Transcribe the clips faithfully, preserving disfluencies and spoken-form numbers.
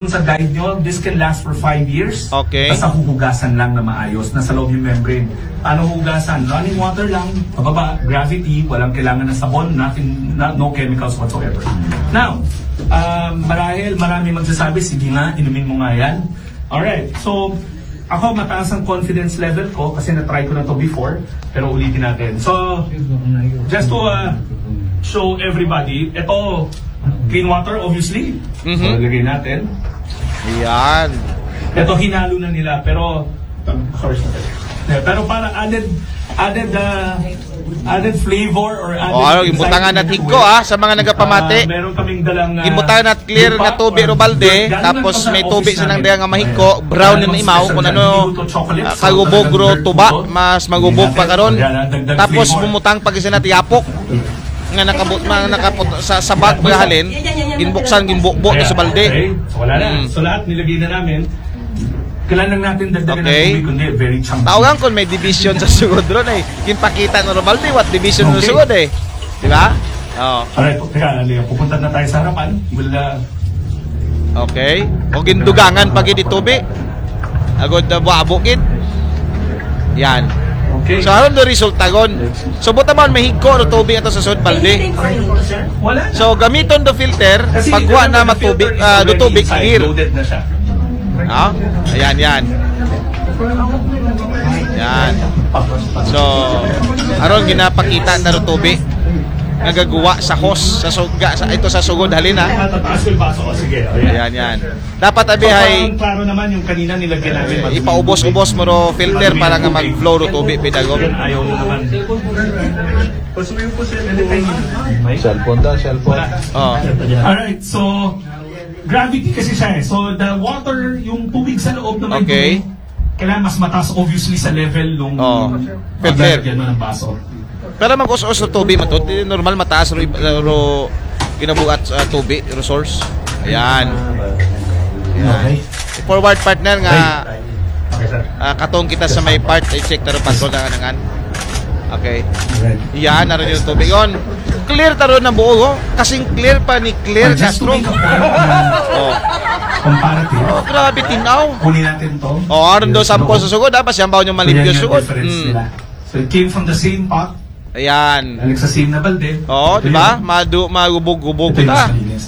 sa guide nyo, this can last for five years. Okay. Basta huhugasan lang na maayos, nasa loob yung membrane. Paano hugasan? Running water lang, pababa, gravity, walang kailangan ng sabon, nothing, no, no chemicals whatsoever. Now, um, marahil marami magsasabi, sige nga, inumin mo nga yan. Alright, so ako mataas ang confidence level ko kasi na-try ko na to before, pero ulitin natin. So, just to uh, show everybody, ito, clean water obviously. So, Mhm. lagay natin. Yan. Ito, hinalo na nila, pero, of course, yeah, pero para added, added, uh, added flavor or added O, ano, excitement gimbutangan na to higko, it. ah, sa mga nagapamati. Ah, meron kaming dalang, ah, Gimbutangan na clear nga lupa tubig or ro balde, galing tapos lang may sa tubig office sa nang namin. daya nga mahigko, brown Ayan, na isa imaw, sa kung dyan, ano, hindi to chocolate, ah, so kagubog talagang ro dito. tuba, mas magubog pa karon. Ayan, ah, dagdag Tapos flavor. Bumutang pa gid sa natiyapok. Nga nakabut, nga nakaput sa, sa bag ba halin, ginbuksan, ginbukbo to sa balde. Okay, so wala na. Mm. So lahat nilagay na namin. Kailangan lang natin dagdagan ng Okay. tubig, kundi very chunky. Tawagan kung may division sa sugod ron eh. Ginpakita na ro balde, what division na Okay. sugod eh. Di ba? Oh. Alright, teka, ano yun? Pupunta na tayo sa harapan. We'll, uh, Okay. O gindugangan pa gid itobi. Agod na buabo gid. Yan. Okay. So, aron do resulta gon. So, buta man mahigko ro tubig ato sa sud balde. Wala na. So, gamiton do filter, Kasi pagwa remember, na the matubig, filter is ah, do already tubig inside, clear. Loaded na siya. Ha? Ayan, yan. Yan. So, aron ginapakita na ro tubig nga gaguwa sa hose, sa sugod, sa, ito sa sugod halin, ha? Matataas yung baso ko. Sige, o, yan. Ayan, yan. Dapat abi So, hay parang klaro naman yung kanina nilagyan namin. ipaubos-ubos mo ro filter para nga mag-flow ro tubig pidagom. Ayaw na naman. Pasuyo po, sir. Anytime. Cellphone daw, cellphone. Oh. Alright, so gravity kasi siya eh. So the water, yung tubig sa loob na may Okay. tubig, kailangan mas mataas obviously sa level nung Oh. paglalagyan mo ng baso. Pero mag-us-us na tubig man to, di normal mataas ro, ro ginabuhat sa tubig, resource. Ayan. Okay. Forward partner nga Okay, sir. ah, katong kita sa may part, i-check ta ro patro na nangan. Okay. Alright. Yan, naroon yung tubig. Yun. Clear ta ro na buo, oh. Kasing clear pa ni Clear Ah, just to Castro. make a point, Oh. Comparative. Oh, grabe, tinaw. Kunin natin to. Oh, aron do sample sa sugod, ha? Pasyambaw nyo Yan malimpyo yung sugod. difference Mm. nila. So it came from the same pot. Ayan. Balik sa same na balde. Oo, Ito di ba? yun. Madu, magubog-gubog Ito yung ta. mas malinis.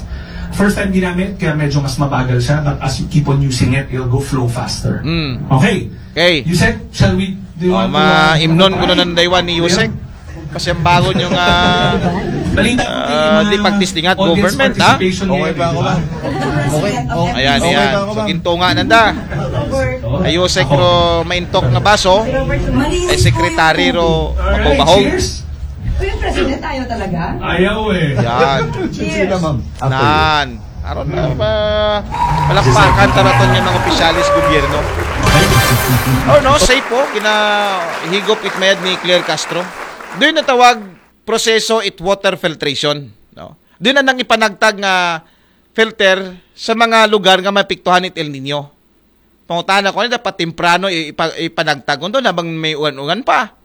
First time ginamit, kaya medyo mas mabagal siya. But as you keep on using it, it'll go flow faster. Mm. Okay. Okay. You said, shall we, do you Oh, want to, ma-imnon uh, ko na ng daywan ni Yusek. Pasyambagon yung ah, Balita ko, ah, may di mga pagtistingan, audience government, ha? Participation Okay ngayon, pa ako, di ba? ma'am. Okay, okay. Ayan, Okay yan. pa ako, So, ma'am. gintunga nanda. Oh, Ay, Yusek ako. ro maintok nga baso. Malinis Ay, po sekretary yung ro Alright, mabubahog. Cheers. Uy, yung president tayo talaga? Ayaw eh. Yan. Cheers. Sino, ma'am? Ako. Nan. Aron na ba? Palakpakan ta naton yung mga opisyalis gobyerno. Oh no, safe po. Ginahigop it mayad ni Claire Castro. Doon natawag proseso it water filtration. No? Doon na nang ipanagtag nga filter sa mga lugar nga mapiktuhan it El Nino. Pangutana ko, ano dapat temprano i- ipa- ipanagtag? Kung doon, habang may uwan-uwan pa.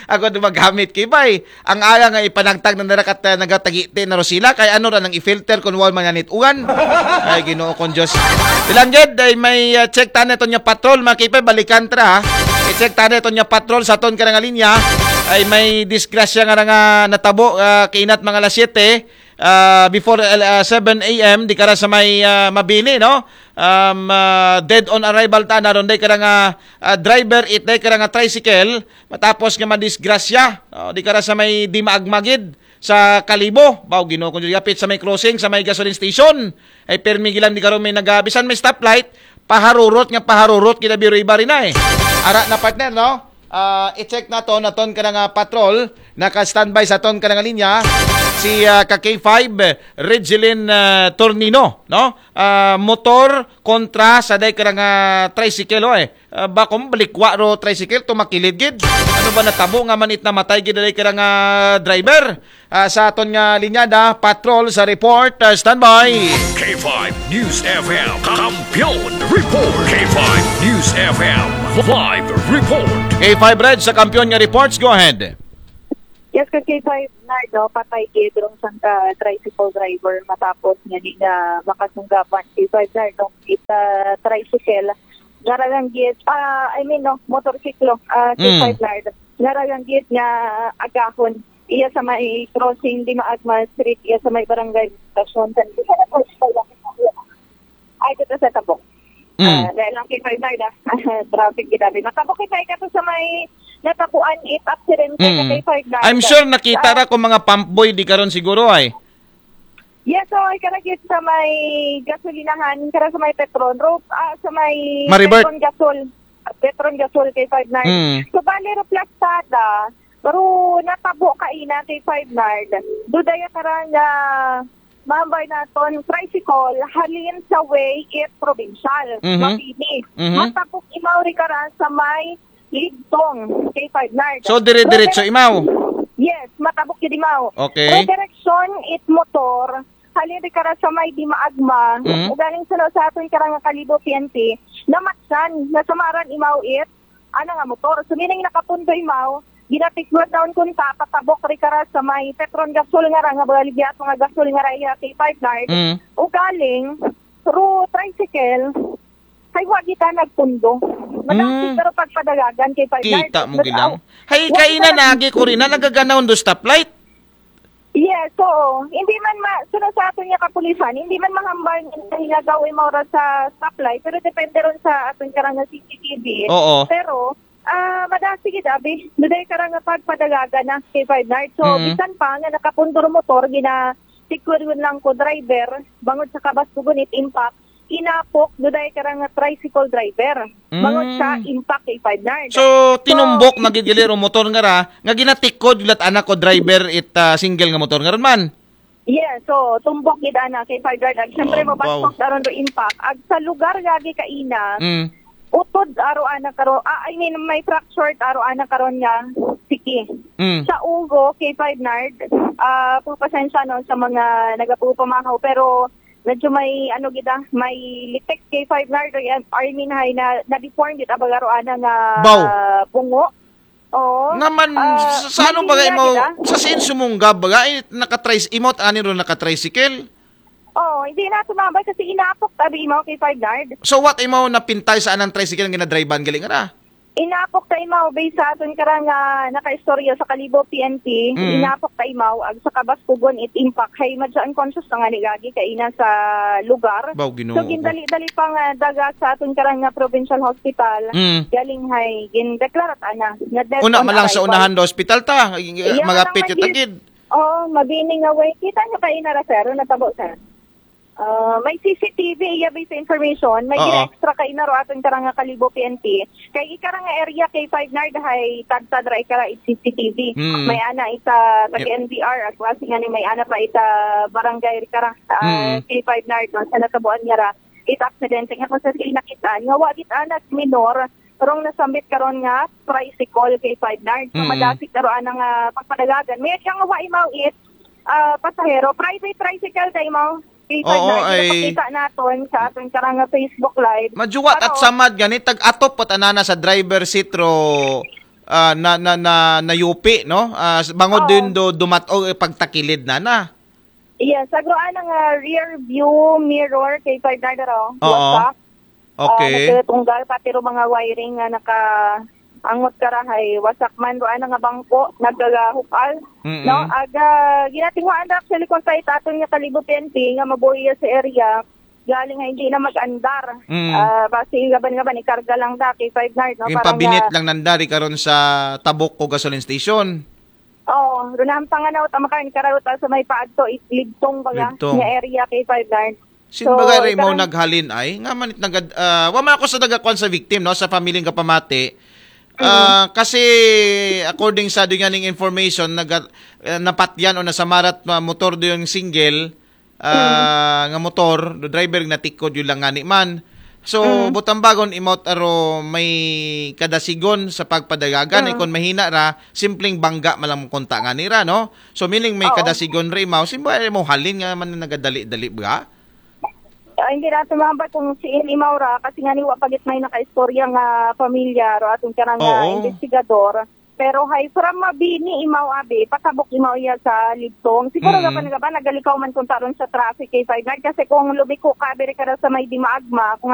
Ako doon magamit kay bay. Ang ala nga ipanagtag na narakat na nagatagiti na ro sila. Kay ano ra nang i-filter kung wal man yanit uwan? Ay, Ginoo kong Diyos. Bilangged, ay may uh, check ta na ito niya patrol, mga kipay, balikan tra, ha? I-check ta na ito niya patrol sa aton karang linya. Ay may disgrasya nga nga natabo uh, kainat mga alas siyete, uh, before uh, seven a m, di kara sa may uh, Mabini, no? Um, uh, dead on arrival ta na ron day kara nga uh, driver, it day kara nga tricycle, matapos nga madisgrasya, no? Di kara sa may di maagmagid sa Kalibo, baw Ginoo kong Diyos, yapit sa may crossing, sa may gasoline station. Ay permi gilan di karon may nagabisan may stoplight, paharurot nga paharurot gid abi ro iba rin na eh. Ara na partner, no? Ah, i-check naton aton ka nga patrol, naka-standby sa aton ka nga linya si ah, ka K five, Regeline ah, Tornino, no? Ah, motor kontra sa day ka nga tricycle, oh, eh. Ah, ba kung balikwa ro tricycle, tumakilid gid. Ano ba natabo nga manit namatay gid day ka nga driver? Ah, sa aton nga linyada, patrol sa report, ah, standby. K five News F M, Kampiyon Report. K five News F M, live report. K five Red sa kampiyon nga reports, go ahead. Yes, kay K five Nard, no, patay gid rong isang ka tricycle driver matapos nga di na makasunggaban kay K five Nard, no, ita tricycle. Garagang gid, ah, I mean, no, motorsiklo, ah, kay Mm. K five Nard. Garagang gid nga agahon. Iya sa may crossing di Maagma Street, iya sa may barangay Estacion. San Ay, dito sa Tabok. Mm. Ah, dahil lang kay Fernanda. Traffic ginabi. Matabok kita ikato sa may natabuan it accident kay Mm. kay Fernanda. I'm sure nakita Ah, ra ko mga pump boy di karon siguro ay. Yes, so ay karagit sa may gasolinahan, kara sa may Petron Road, ah, sa may Maribert. Petron Gasol. Petron Gasol kay Fernanda. Mm. So, bali ro plastada, pero natabo kaina kay Fernanda. Dudaya karang nga mahambal naton tricycle halin sa way it provincial, Mhm. Mabini. Mhm. Matabok imaw ri kara sa may Ligtong kay Fernand. So, dire-diretso Pero imaw? Yes, matabok yun imaw. Okay. Pero direksyon it motor, halin ri kara sa may di maagma, Mhm. ugaling sa, sa aton karang nga Kalibo P N P, namatsan, nasamaran imaw it, ana nga motor. So, meaning nakapundo imaw, ginatiklod naon kunta, patabok ri kara sa may Petron Gasol nga ra, nga baligya ato nga gasol nga ra iya kay Fernand. Mm. Ugaling, through tricycle, hay wa kita nagpundo. Madasig Mm. pero pagpadagagan kay Fernand. Kita mo But, gilang. aw, Hay, wa kaina kita nag- nagi ko rin na nagaganahon do stoplight. Yes, oo. Hindi man ma-, sunod sa aton nga kapulisan, hindi man mahambal nga hinagaw imaw ra sa stoplight, pero depende ron sa aton karang nga C C T V. Oo. Pero, ah, madasig gid, abi. Duday karang nga pagpadagagan na kay Fernand. So, Mm. bisan pa nga nakapundo ro motor, gina-, tikwiryon lang ko driver, bangod sa kabaskugon it impact, inapok, duday karang nga tricycle driver. Bangod sa Mm. impact kay Fernand. So, So, tinumbok na gid gali ro motor nga ra, nga ginatikod yulat anak ko driver it, ah, single nga motor nga ron man. Yes, so, tumbok gid ana kay Fernand. Ag, syempre, Oh, wow. mabastok aron do impact. Ag sa lugar gagi kaina, Mm. utod aro ana karon, ah, I mean, may fractured aro ana karon nga siki. Mm. Sa ulo kay Fernand, ah, pagpasensya no sa mga nagapupamahaw, pero medyo may, ano gid, ah, may litik kay Fernand, or, I mean, hay na, na-deform gid ang aro ana nga Baw. bungo. Oo. Naman, Ah, sa, sa ano may ba linya imo, gid, ah. sa sin sumunggab ba, eh, nakatris-, imo at ani ro nakatricycle? Oo, hindi na tumambay kasi inapok tabi mo kay Fernand. So what imo napintay sa anang tricycle nga ginadrivean gali nga na? Inapok ta imaw, based sa aton karang, ah, nakaistorya sa Kalibo P N P, Mm. inapok ta imaw, ag sa kabaskugon it impact, hay madya unconscious na nga ni gagi kaina sa lugar. Baw, Ginoo So, ko. gindali-dali pa nga daga sa aton karang nga provincial hospital, Mm. galing hay, gindeklarat ana, nga dead Una on man lang sa arrival. unahan do hospital ta, Iya, magapit naman kita gid. gid. Oo, mabini nga way. Kita nyo kaina ra, sir, natabo, sir. Ah, may C C T V, iya, based sa information, may Oo. extra kaina ro aton karang nga Kalibo P N P. Kay ikara nga area kay Five Nard hay tadtad ra ikara it C C T V. Mm. May ana ita tag Yep. N B R, at wasi nga ni may ana pa ita barangay ikara, ah, Mm. kay Five Nard, no, sa natabuan niya ra it aksidente nga kung sa sila nakita nga wa gid ana minor rong nasambit karon nga tricycle kay Five Nard. So, Mm. madasig karon ana nga pagpadagagan. May siyang wa imaw it, ah, pasahero. Private tricycle tayo mo. Kay Five Oo, Nard, ay ginapakita naton sa aton karang nga Facebook Live. Majuwat at Pero samad gani, tag-atop at anana sa driver seat ro, ah, na, na, na, na yupi, no? Ah, s-, bangod Oo. din do, dumat-, o, eh, pagtakilid na na. Yes, agro ana nga rear view mirror kay Five Nard ro. Oo. Wasak. Okay. Ah, nagtunggal pati ro mga wiring nga naka angot karahay, wasak man ro ana nga bangko, nagagahukal, Mm-mm. no? Aga, ginatinguhaan ra actually kung sa itaton nga Kalibo P N P nga mabuhi sa area, galing nga hindi na mag-andar. Mm. Ah, basi gaban-gaban, ikarga lang da kay Five Nard, no? Yung Parang pabinit nga lang nandari karon sa Tabok ko gasoline station. Oo, runang panganaw, tama ka, ikararot sa may paadto, it-, Libtong baga, Libtong. nga area kay Five Nard. Sin So, bagay rin mo ikarang naghalin ay, nga man it nagad-, ah, wa man ako sa nagakuan sa victim, no, sa pamilyang kapamati. Mm. Ah, kasi according sa doon nga ning information, naga-, ah, napatyan o nasamarat ma-, motor do yung single, ah, Mm. nga motor, do driver natikod yun lang ngani man. So, Mm. butambagon, imot aro may kadasigon sa pagpadagagan, Mm. ikon mahina ra, simpleng bangga malang konta nga nira, no? So, meaning may Oo. kadasigon ra imaw, simba mo halin nga man nagadali-dali ba? Ah, hindi na tumambay kung si Imaw ra, kasi nga ni wa pagit may nakaistorya nga pamilya, ro atong karang nga Oo. investigador. Pero hay from Mabini imaw abi, patabok imaw iya sa Libtong. Siguro Mm. gapan gapan nagalikaw man kung taron sa traffic kay Ferdinand, kasi kung lumiko ka biri ka sa may Dimaagma, kung